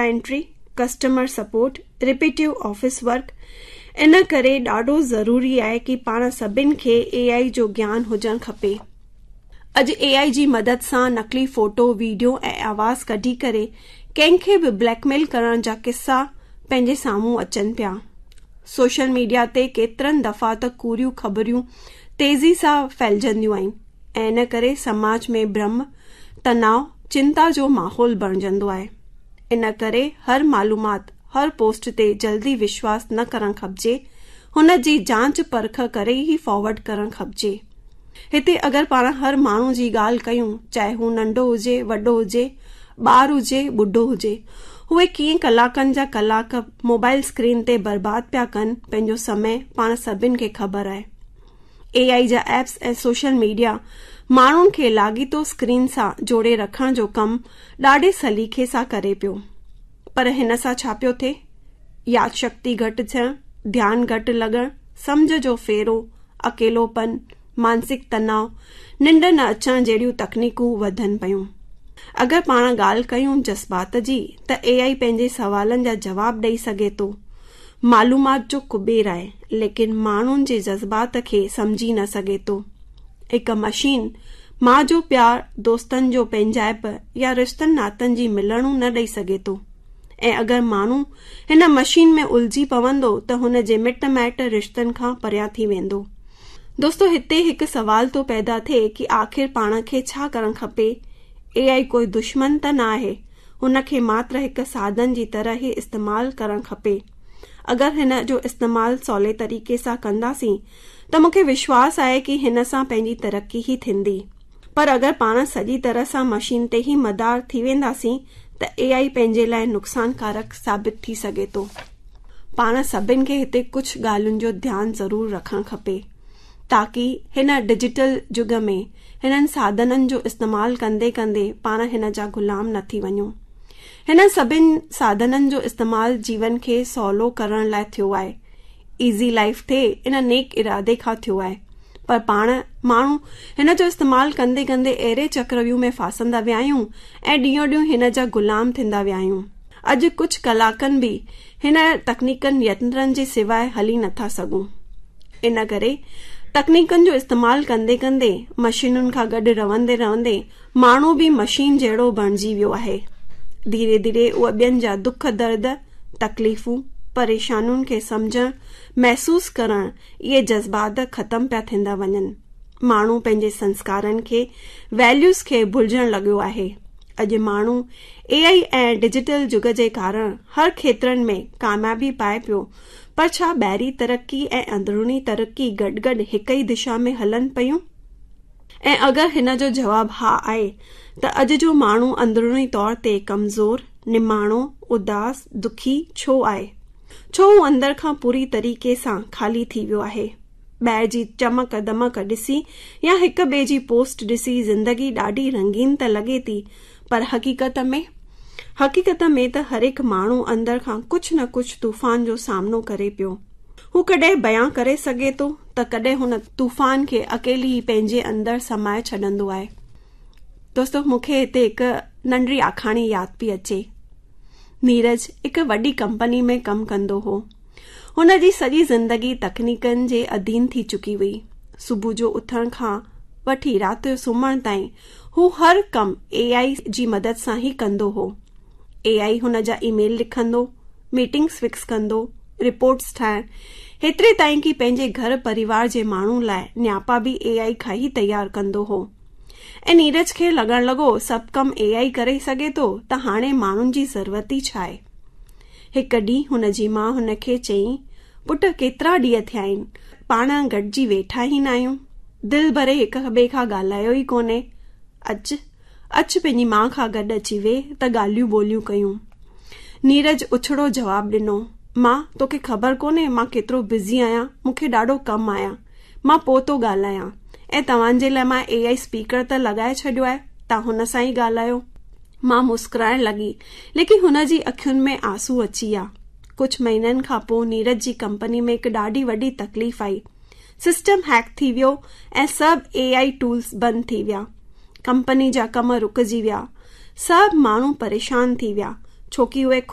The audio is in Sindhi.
Entry, customer support, repetitive office work, ان ڪري ڏاڍو ضروري آهي ڪي پاڻ سڀن کي اي آئي جو گيان هجڻ کپي. اڄ اي آئي جي مدد سان نقلي فوٽو، ويڊيو ۽ آواز ڪڍي ڪري ڪنهن کي به بليڪ ميل ڪرڻ جا قصا پنهنجي سامهون اچن پيا. سوشل ميڊيا تي ڪيترن دفعا ته ڪوڙيون خبريون تيزي سان ڦهلجنديون آهن ۽ ان ڪري سماج ۾ ڀرم، تناء، چنتا جو ماحول بڻجندو آهي. ان ڪري هر معلومات، هر پوسٽ تي جلدي وشواس نه ڪرڻ کپجي، هن جي جانچ پرک ڪري ئي فارورڊ ڪرڻ کپجي. هتي اگر پاڻ هر ماڻهو جي ڳالهه ڪيون، چاهي هو ننڍو هجي، وڏو هجي، ٻار هجي، ٻڍو هجي، اهي ڪيئن ڪلاڪن جا ڪلاڪ موبائل اسڪرين تي برباد پيا ڪن پنهنجو سمي پاڻ سڀن کي خبر آهي. اي آئي جا ايپس ۽ سوشل ميڊيا ماڻهن کي لاڳيتو اسڪرين سان جوڙي رکڻ جو ڪم ڏاڍي سليقي سان ڪري پيو. پر هن سان ڇا پيو ٿئي؟ ياد شڪتي گهٽ ٿيڻ، ڌيان گهٽ لڳڻ، سمجهه جو ڦيرو، اڪيلوپن، مانسڪ تناء، ننڊ نه اچڻ جهڙيون تڪنيڪون وڌن پيون. اگر پاڻ ڳالهه ڪيون جذبات جي ته اي آئي پنهنجي سوالن جا جواب ڏئي سگهي ٿو. معلومات جو ڪٻير آهي، ليڪن ماڻهن جي جذبات کي سمجهي نه سگهي ٿو. هڪ مشين ماء جو پيار، دوستن جو پنهنجائپ يا رشتن ناتن جي ملڻون نه ڏئي سگهي ٿو ۽ اگر ماڻهو هن مشين ۾ الجهي پوندو ته هن جي مٽ مائٽ رشتن کان پريان ٿي ويندو. دوستو هتي هڪ سوال ٿو پيدا ٿئي ڪي آخر پاڻ کي ڇا ڪرڻ کپي؟ اي آئي ڪوئي دشمن ته نه آهي، هن کي ماتر هڪ ساڌن جي طرح ئي استعمال ڪرڻ کپي. اگر هن جو استعمال سولي طريقي سان ڪنداسين ته مون کي وشواس آهي ڪي هن سان پنهنجي ترقي ئي ٿيندي. پر اگر پاڻ سڄي طرح سان مشين تي ئي مدار ٿي وينداسين ته اي آئي پنهنجي لاء نقصانڪارڪ ثابت ٿي سگهي ٿو. پاڻ سڀن کي هتي ڪجهه ڳالهين جو ڌيان ضرور رکڻ کپي. تاڪي هن ڊجيٽل جڳ ۾ هنن ساڌنن جو استعمال ڪندي ڪندي پاڻ هن جا غلام نه ٿي وڃون. هنن سڀن ساڌنن جو استعمال جيون کي سولو ڪرڻ لاء ٿيو آهي. ايزي لائيف ٿئي ان نيڪ ارادي کان ٿيو آهي. پر پاڻ ماڻهو هن جو استعمال ڪندي ڪندي اهڙي چڪرويوهه ۾ ڦاسندا ويا آهيون ۽ ڏينهون ڏينهن هن جا غلام ٿيندا ويا آهيون. اڄ ڪجهه ڪلاڪن به هن تڪنيڪن ينترن جي سواء هلي نٿا سگهون. ان ڪري تڪنيڪن جو استعمال ڪندي ڪندي مشينن کان گڏ رهندي رهندي ماڻهو به مشين جهڙو بڻجي ويو آهي. ڌيري ڌيري اهي ٻين جا دک درد، تڪليفون، پريشانين کي سمجهڻ، محسوس ڪرڻ اهي جذبات ختم پيا ٿيندا وڃن. ماڻهو پنهنجي سنسڪارن کي، Values کي ڀلجڻ لڳيو آهي. اڄ ماڻهو اي آئي ۽ ڊجيٽل جڳ جي ڪارڻ هر کيترن ۾ ڪاميابي پائي پيو پر ڇا ٻاهرين ترقي ۽ اندروني ترقي گڏ گڏ هڪ ئي دشا ۾ هلن پيون؟ ۽ اگر هن جو جواب ها آهي ته اڄ جو ماڻهو اندروني طور تي ڪمزور، نماڻو، اداس، دکي ڇو آهي؟ ڇو هو اندر کان پوري طريقي سان خالي ٿي ويو آهي؟ ٻاهر جي چمڪ دمڪ ڏسي يا هڪ ٻئي جي پوسٽ ڏسي زندگي ڏاڍي رنگين ته لڳي ٿي پر حقيقت ۾؟ حقيقت ۾ ته هرهڪ ماڻهو اندر کان ڪجهه نه ڪجهه طوفان جو سامنو ڪري پيو. هو ڪڏهن بيان ڪري سگهي ٿو ته ڪڏهن هن طوفان کي اڪيلي ئي پنهنجي اندر سمائي ڇڏندو آهي. دوستو مون کي هتي هڪ ننڍڙي آکاڻي ياد پئي اچي. نيرج هڪ وڏي ڪمپني ۾ ڪم ڪندو هو. هن جي سڄي زندگي تڪنيڪن جي اڌين ٿي چڪي هئي. صبح جو اٿڻ کان وٺي رات جو سمهڻ تائين هو هر ڪم اي آئي جي مدد سان ئي ڪندو هو. اي آئي هن جا اي ميل لکندو، ميٽنگس فڪس ڪندو، رپورٽس ٺاهڻ، هيتري تائين ڪي پنهنجي گهر پريوار جي ماڻهن لاء نياپا به اي آئي کان ئي تيار ڪندو هو. ۽ نيرج کي لڳڻ لڳو سڀ ڪم اي آئي ڪري سگهي ٿو ته هاڻي ماڻهن جي ضرورت ئي ڇا آهي. هڪ ڏينهن هن جي ماء هن کي چيائين، پٽ ڪيترا ڏينهن ٿيا آهن، پاڻ گڏجي ويٺا ئي ناهيون، دل ڀري هڪ ٻئي کان ڳالهايو ئي ڪونهي. اچ، اچ پنهنجي ماء کان گڏ اچي ويهه ته ڳالهيون ٻولهيون ڪيون. نيرج اڇڙو جواب ڏنو، ماء توکي خبر ڪونهي مان ڪيترو بزي آهيان، مون کي ڏاڍو ڪم آهي، مان پوء ٿو ڳالهايان ۽ توهان جي لاء مان اي I speaker ته لڳائي ڇڏيو آهي، توهان هن سان ئي ڳالهايو. ماء مسڪرائڻ لڳي، ليڪن هن جي اکين ۾ آنسو اچي ويا. ڪجهه مهينن کان پوء نيرج جي ڪمپني ۾ هڪ ڏاڍي وڏي تڪليف آئي. سسٽم هيڪ ٿي ويو ۽ سڀ اي I tools بند ٿي ويا. ڪمپني جا ڪم رڪجي ويا. سڀ ماڻهو پريشان ٿي ويا، ڇو ڪي اهي